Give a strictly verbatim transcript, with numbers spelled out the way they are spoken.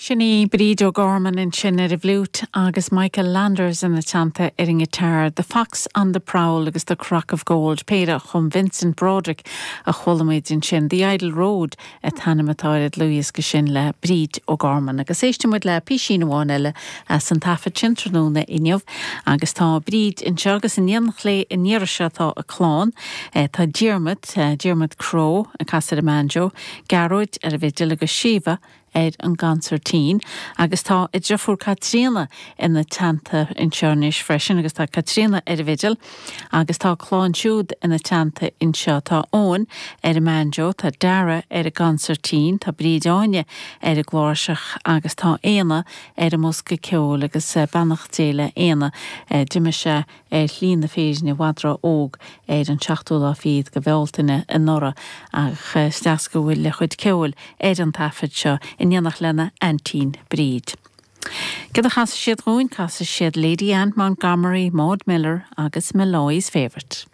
Sin í Bríd O'Gorman ansin ar an bhfliúit agus Michael Landers ina teannta ar an ngiotár, The Fox on the Prowl agus The Crock of Gold, péire a chum Vincent Broderick a chuala muid ansin, The Idle Road an t-ainm atá ar an dlúthdhiosca sin le Bríd O'Gorman. Agus éistfidh muid le písín amháin eile as an taifead sin tráthnóna inniu agus tá Bríd anseo agus in éineacht léi an iarraidh seo tá a clann, eh, tá Diarmuid, eh, Diarmuid Crowe ag casadh ar an mbanjo, Gearóid ar an bhfidil agus Síomha ar an gconsairtín agus tá a deirfiúr Caitríona ina teannta anseo anois freisin agus tá Caitríona ar an bhfidil agus tá clann siúd ina teannta anseo tá Eoin ar an mbanjo, tá Dara ar an gconsairtín, tá Bríd Áine ar an gcláirseach agus tá Éanna ar an mbosca ceoil agus eh, beannacht Dé le Éanna eh, d'imigh sé ar shlí na fírinne i bhfad ró-óg ar an seachtú lá fichead de Bhealtaine anuraidh ach eh, is deas go bhfuil a chuid ceoil ar an taifead seo in éineacht lena aintín Bríd. Cad a chasfaidh siad dúinn casfaidh siad Lady Anne Montgomery, Maud Miller agus Molloy's Favourite.